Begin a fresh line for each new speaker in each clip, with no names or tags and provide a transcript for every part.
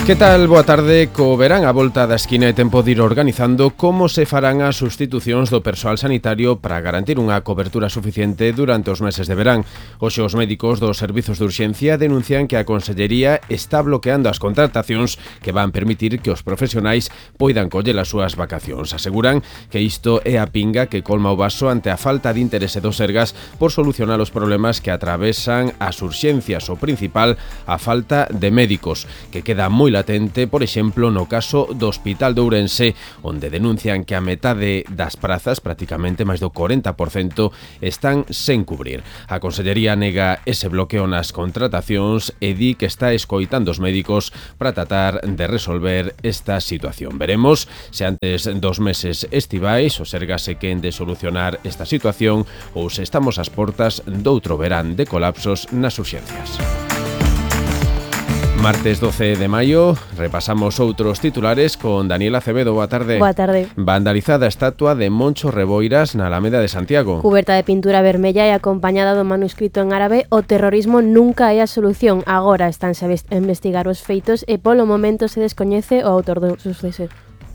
Que tal? Boa tarde. Co verán a volta da esquina é tempo de ir organizando como se farán as sustitucións do persoal sanitario para garantir unha cobertura suficiente durante os meses de verán. Hoxe os médicos dos servizos de urxencia denuncian que a Consellería está bloqueando as contratacións que van permitir que os profesionais poidan coller as súas vacacións. Aseguran que isto é a pinga que colma o vaso ante a falta de interese dos Sergas por solucionar os problemas que atravesan as urxencias. O principal, a falta de médicos, que queda moi latente, por exemplo, no caso do Hospital de Ourense, onde denuncian que a metade das prazas, prácticamente máis do 40%, están sen cubrir. A Consellería nega ese bloqueo nas contratacións e di que está escoitando os médicos para tratar de resolver esta situación. Veremos se antes dos meses estivais o Sergas se queren de solucionar esta situación ou se estamos ás portas doutro verán de colapsos nas urxencias. Martes 12 de maio, repasamos outros titulares con Daniela Acevedo. Boa tarde.
Boa tarde.
Vandalizada a estatua de Moncho Reboiras na Alameda de Santiago.
Cuberta de pintura vermella e acompañada do manuscrito en árabe "O terrorismo nunca é a solución". Agora estánse a investigar os feitos e polo momento se descoñece o autor do suceso.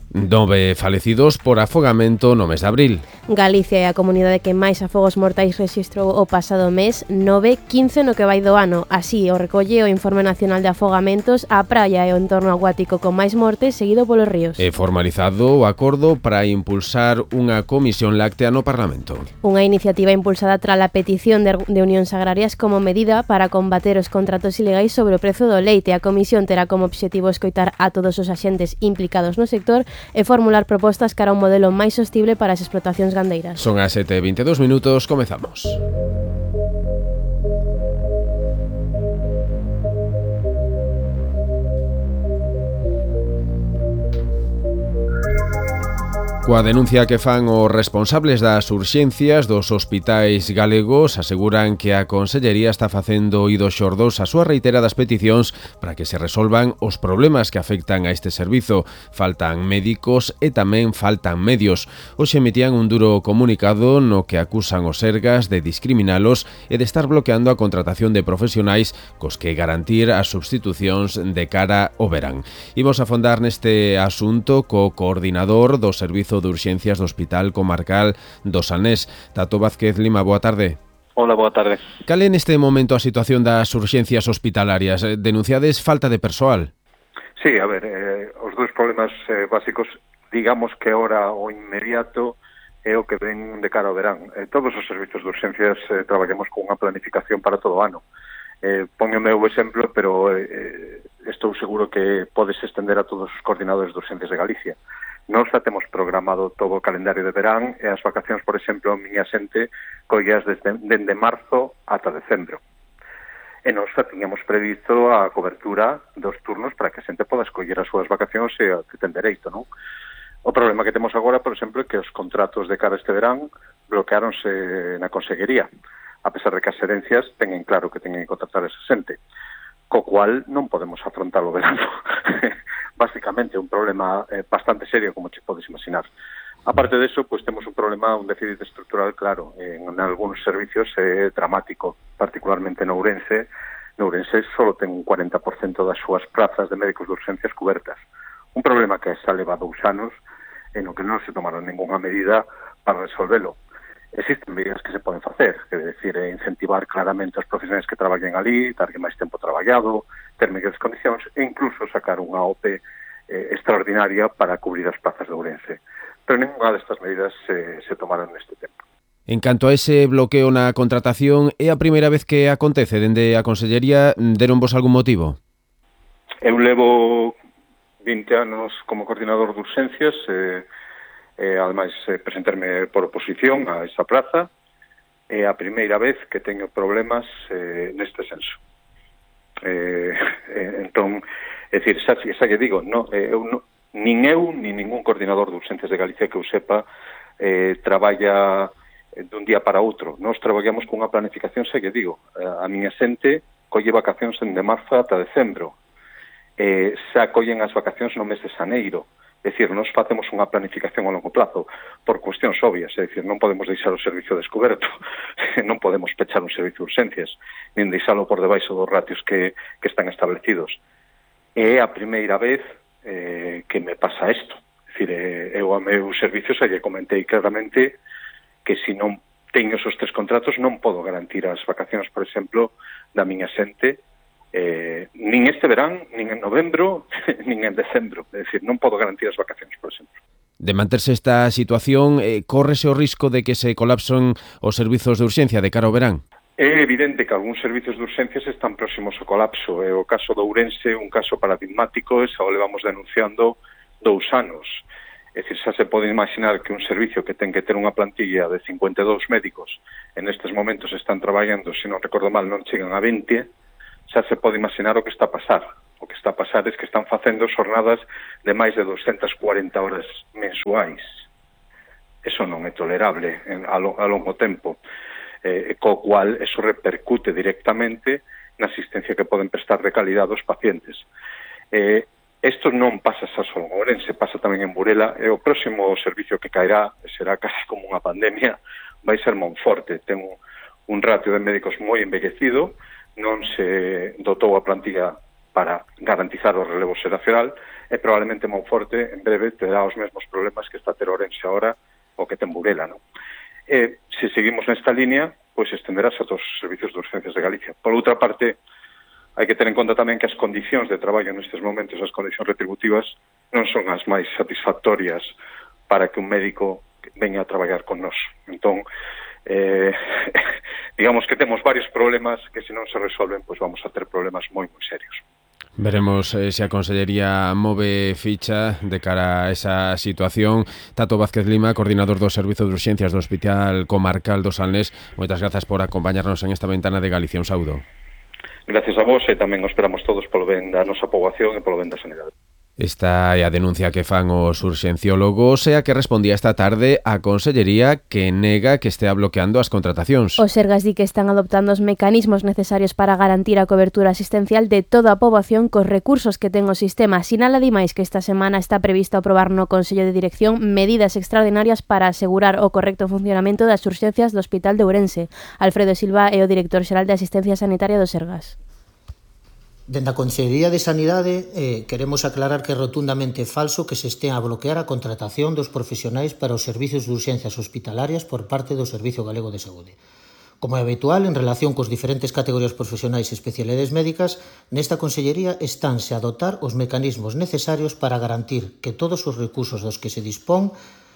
9 falecidos por afogamento no mes de abril.
Galicia é a comunidade que máis afogos mortais rexistrou o pasado mes, 15 no que vai do ano. Así o recolle o Informe Nacional de Afogamentos. A praia é o entorno acuático con máis mortes, seguido polos ríos.
É formalizado o acordo para impulsar unha comisión láctea no Parlamento.
Unha iniciativa impulsada tras a petición de unións agrarias como medida para combater os contratos ilegais sobre o prezo do leite. A comisión terá como obxectivo escoitar a todos os axentes implicados no sector e formular propostas cara a un modelo máis sostible para as explotacións gandeiras.
Son as 7:22, comezamos. Coa denuncia que fan os responsables das urxencias dos hospitais galegos, aseguran que a Consellería está facendo oídos xordos ás súas reiteradas peticións para que se resolvan os problemas que afectan a este servizo. Faltan médicos e tamén faltan medios. Hoxe emitían un duro comunicado no que acusan os Sergas de discriminalos e de estar bloqueando a contratación de profesionais cos que garantir as substitucións de cara ao verán. Imos afondar neste asunto co coordinador do Servizo de Urxencias do Hospital Comarcal do Salnés, Tato Vázquez Lima. Boa tarde.
Hola, boa tarde.
Cal é neste momento a situación das urxencias hospitalarias? Denunciades falta de persoal?
Sí, a ver, os dous problemas básicos, digamos que ahora o inmediato é o que ven de cara ao verán. Todos os servizos de urxencias traballamos con unha planificación para todo o ano. Pongo o meu exemplo, pero estou seguro que podes estender a todos os coordinadores de urxencias de Galicia. Nós xa temos programado todo o calendario de verán e as vacacións, por exemplo, a miña xente collas dende marzo ata decembro. E nós xa tiñamos previsto a cobertura dos turnos para que a xente poda escoller as súas vacacións e que ten dereito, non? O problema que temos agora, por exemplo, é que os contratos de cara a este verán bloqueáronse na Consellería, a pesar de que as herencias teñen claro que teñen que contratar esa xente, co cual non podemos afrontar o verano. Básicamente un problema bastante serio, como te podes imaginar. Aparte de eso, pues temos un problema, un déficit estructural claro. En algunos servicios é dramático, particularmente no Ourense. No Ourense solo ten un 40% das súas plazas de médicos de urxencias cobertas. Un problema que xa leva 2 anos en o que non se tomaron ninguna medida para resolvelo. Existen medidas que se poden facer, que é dicir, incentivar claramente os profesionais que traballen ali, darlle máis tempo traballado, ter mellores condicións e incluso sacar unha OPE extraordinaria para cubrir as plazas de Ourense. Pero ninguna destas medidas se tomaron neste tempo.
En canto a ese bloqueo na contratación, é a primeira vez que acontece dende a Consellería? Deronvos algún motivo?
Eu levo 20 anos como coordinador de urxencias ademais presentarme por oposición a esa plaza, é a primeira vez que teño problemas neste senso. Entón, é dicir, xa lle digo, nin eu, nin ningún coordinador de urxencias de Galicia que eu sepa traballa dun día para outro. Nós traballamos con unha planificación, xa lle digo, a miña xente colle vacacións de marzo ata decembro, xa collen as vacacións no mes de xaneiro. É dicir, nós facemos unha planificación a longo plazo por cuestións obvias, é dicir, non podemos deixar o servicio descoberto, non podemos pechar un servicio de urxencias, nin deixalo por debaixo dos ratios que están establecidos. é a primeira vez que me pasa isto. É dicir, eu a meus servicios lle comentei claramente que se non teño esos 3 contratos non podo garantir as vacacións, por exemplo, da miña xente, nin este verán, nin en novembro, nin en decembro. É dicir, non podo garantir as vacacións, por exemplo.
De manterse esta situación, córrese o risco de que se colapsen os servizos de urxencia de cara ao verán?
É evidente que algúns servizos de urxencias están próximos ao colapso. É o caso de Ourense, un caso paradigmático, e xa o levamos denunciando 2 anos. É dicir, xa se pode imaginar que un servicio que ten que ter unha plantilla de 52 médicos en estes momentos están traballando, se non recordo mal, non chegan a 20, xa se pode imaginar o que está a pasar. O que está a pasar é que están facendo xornadas de máis de 240 horas mensuais. Eso non é tolerable a longo tempo. Co cual eso repercute directamente na asistencia que poden prestar de calidade aos pacientes. Isto non pasa xa só en Ourense, pasa tamén en Burela, e o próximo servicio que caerá, será casi como unha pandemia, vai ser Monforte. Ten un ratio de médicos moi envellecido, non se dotou a plantilla para garantizar o relevo xeracional, e probablemente Monforte en breve terá os mesmos problemas que está a ter Ourense agora o que ten Burela, non? Se seguimos nesta línea, pois estenderás a todos os servicios de urgencias de Galicia. Por outra parte, hai que ter en conta tamén que as condicións de traballo nestes momentos, as condicións retributivas, non son as máis satisfactorias para que un médico veña a traballar con nós. Entón, digamos que temos varios problemas que se non se resolven, pois vamos a ter problemas moi, moi serios.
Veremos se a Consellería move ficha de cara a esa situación. Tato Vázquez Lima, coordinador do Servizo de Urxencias do Hospital Comarcal do Salnés, moitas grazas por acompañarnos en esta ventana de Galicia. Un saúdo.
Gracias a vos, e tamén os esperamos todos polo ben da nosa poboación e polo ben da sanidade.
Esta é a denuncia que fan os urxenciólogos e a que respondía esta tarde a Consellería, que nega que estea bloqueando as contratacións.
Os Sergas di que están adoptando os mecanismos necesarios para garantir a cobertura asistencial de toda a poboación cos recursos que ten o sistema. Sinala ademais que esta semana está previsto aprobar no Consello de Dirección medidas extraordinarias para asegurar o correcto funcionamento das urxencias do Hospital de Ourense. Alfredo Silva é o director xeral de Asistencia Sanitaria dos Sergas.
Dende a Consellería de Sanidade queremos aclarar que é rotundamente falso que se estea a bloquear a contratación dos profesionais para os servizos de urxencias hospitalarias por parte do Servizo Galego de Saúde. Como é habitual, en relación cos diferentes categorías profesionais e especialidades médicas, nesta Consellería estánse a dotar os mecanismos necesarios para garantir que todos os recursos dos que se dispón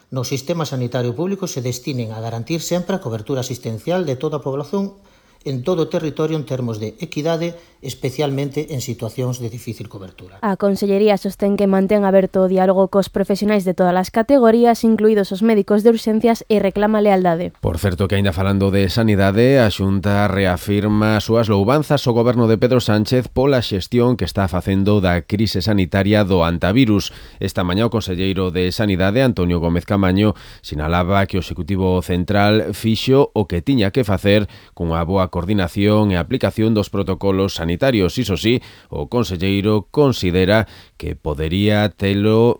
no sistema sanitario público se destinen a garantir sempre a cobertura asistencial de toda a población en todo o territorio en termos de equidade, especialmente en situacións de difícil cobertura.
A Consellería sostén que mantén aberto o diálogo cos profesionais de todas as categorías, incluídos os médicos de urxencias, e reclama lealdade.
Por certo, que aínda falando de sanidade, a Xunta reafirma as súas louvanzas ao goberno de Pedro Sánchez pola xestión que está facendo da crise sanitaria do antivirus. Esta mañá o conselleiro de Sanidade, Antonio Gómez Camaño, sinalaba que o Executivo Central fixo o que tiña que facer cunha boa coordinación e aplicación dos protocolos sanitarios. Iso sí, o conselleiro considera que podería telo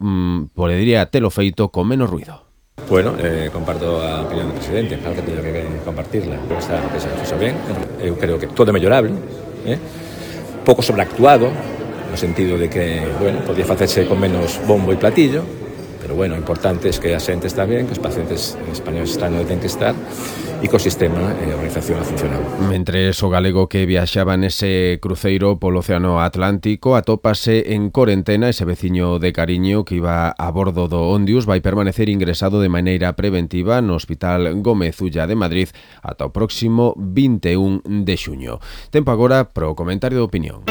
feito con menos ruido.
Bueno, comparto a opinión do presidente, claro que teño que compartirla, pero está que se fixo ben. Eu creo que todo é mellorable, pouco sobreactuado, no sentido de que, bueno, podía facerse con menos bombo e platillo, pero bueno, o importante é que a xente está ben, que os pacientes españoles están onde ten que estar e que o sistema e a organización ha funcionado.
Mentres o galego que viaxaba nese cruceiro polo Océano Atlántico atópase en corentena, ese veciño de cariño que iba a bordo do Ondius vai permanecer ingresado de maneira preventiva no Hospital Gómez Ulla de Madrid ata o próximo 21 de xuño. Tempo agora pro comentario de opinión.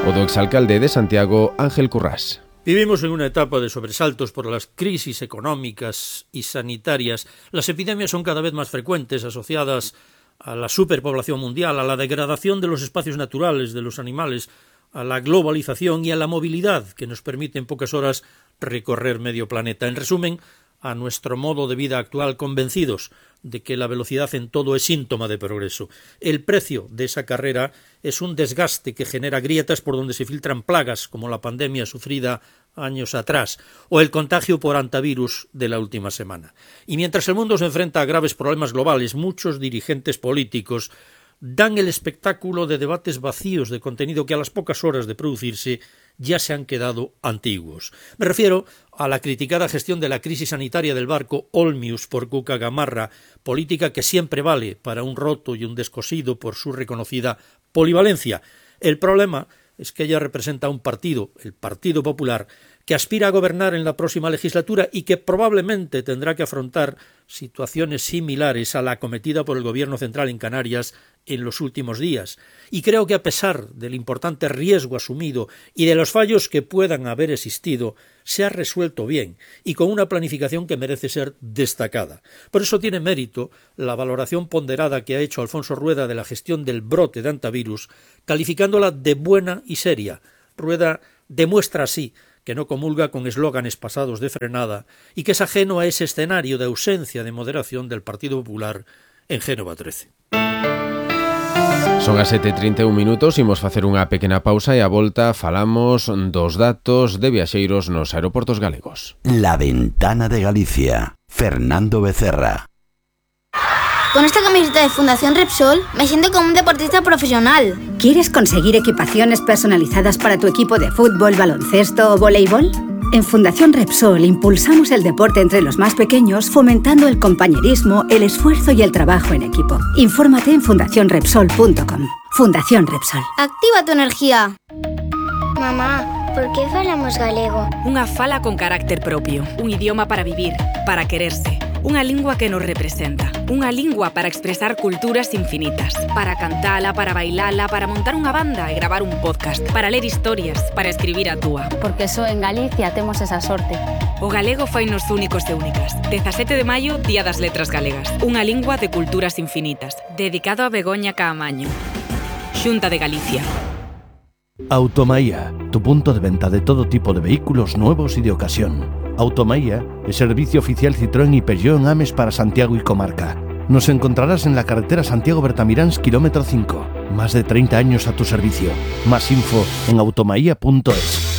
O do exalcalde de Santiago, Ángel Currás.
Vivimos en una etapa de sobresaltos por las crisis económicas y sanitarias. Las epidemias son cada vez más frecuentes, asociadas a la superpoblación mundial, a la degradación de los espacios naturales, de los animales, a la globalización y a la movilidad que nos permite en pocas horas recorrer medio planeta. En resumen, a nuestro modo de vida actual, convencidos de que la velocidad en todo es síntoma de progreso. El precio de esa carrera es un desgaste que genera grietas por donde se filtran plagas, como la pandemia sufrida años atrás, o el contagio por antivirus de la última semana. Y mientras el mundo se enfrenta a graves problemas globales, muchos dirigentes políticos dan el espectáculo de debates vacíos de contenido que a las pocas horas de producirse ya se han quedado antiguos. Me refiero a la criticada gestión de la crisis sanitaria del barco Olmius por Cuca Gamarra, política que siempre vale para un roto y un descosido por su reconocida polivalencia. El problema es que ella representa un partido, el Partido Popular, que aspira a gobernar en la próxima legislatura y que probablemente tendrá que afrontar situaciones similares a la acometida por el Gobierno central en Canarias en los últimos días. Y creo que a pesar del importante riesgo asumido y de los fallos que puedan haber existido, se ha resuelto bien y con una planificación que merece ser destacada. Por eso tiene mérito la valoración ponderada que ha hecho Alfonso Rueda de la gestión del brote de antivirus, calificándola de buena y seria. Rueda demuestra así que no comulga con eslóganes pasados de frenada y que es ajeno a ese escenario de ausencia de moderación del Partido Popular en Génova 13.
Son as 7:31 minutos, imos facer unha pequena pausa e a volta falamos dos datos de viaxeiros nos aeroportos galegos.
La Ventana de Galicia, Fernando Becerra.
Con esta camiseta de Fundación Repsol me siento como un deportista profesional.
¿Quieres conseguir equipaciones personalizadas para tu equipo de fútbol, baloncesto o voleibol? En Fundación Repsol impulsamos el deporte entre los más pequeños, fomentando el compañerismo, el esfuerzo y el trabajo en equipo. Infórmate en fundacionrepsol.com. Fundación Repsol.
Activa tu energía.
Mamá, por que falamos galego?
Unha fala con carácter propio, un idioma para vivir, para quererse. Unha lingua que nos representa, unha lingua para expresar culturas infinitas, para cantala, para bailala, para montar unha banda e gravar un podcast, para ler historias, para escribir a túa.
Porque só en Galicia temos esa sorte.
O galego fainos únicos e únicas. 17 de maio, Día das Letras Galegas. Unha lingua de culturas infinitas. Dedicado a Begoña Caamaño. Xunta de Galicia.
Automaía, tu punto de venta de todo tipo de vehículos nuevos y de ocasión. Automaía es servicio oficial Citroën y Peugeot en Ames para Santiago y comarca. Nos encontrarás en la carretera Santiago-Bertamiráns, kilómetro 5. Más de 30 años a tu servicio. Más info en automaía.es.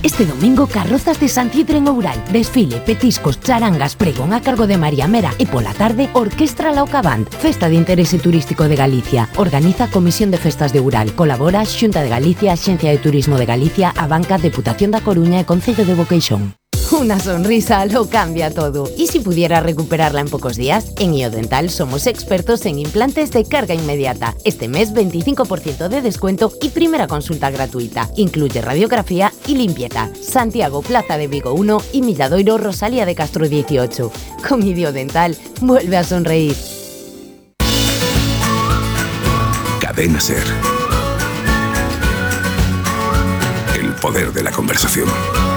Este domingo, carrozas de Santiedre en Oural. Desfile, petiscos, charangas, pregón a cargo de María Mera e pola tarde, Orquestra Lauca Band, Festa de Interese Turístico de Galicia. Organiza Comisión de Festas de Oural. Colabora Xunta de Galicia, Axencia de Turismo de Galicia, a Banca, Deputación da Coruña e Concello de Boqueixón.
Una sonrisa lo cambia todo. ¿Y si pudiera recuperarla en pocos días? En IoDental somos expertos en implantes de carga inmediata. Este mes 25% de descuento y primera consulta gratuita. Incluye radiografía y limpieza. Santiago, Plaza de Vigo 1 y Milladoiro, Rosalía de Castro 18. Con IoDental vuelve a sonreír.
Cadena SER. El poder de la conversación.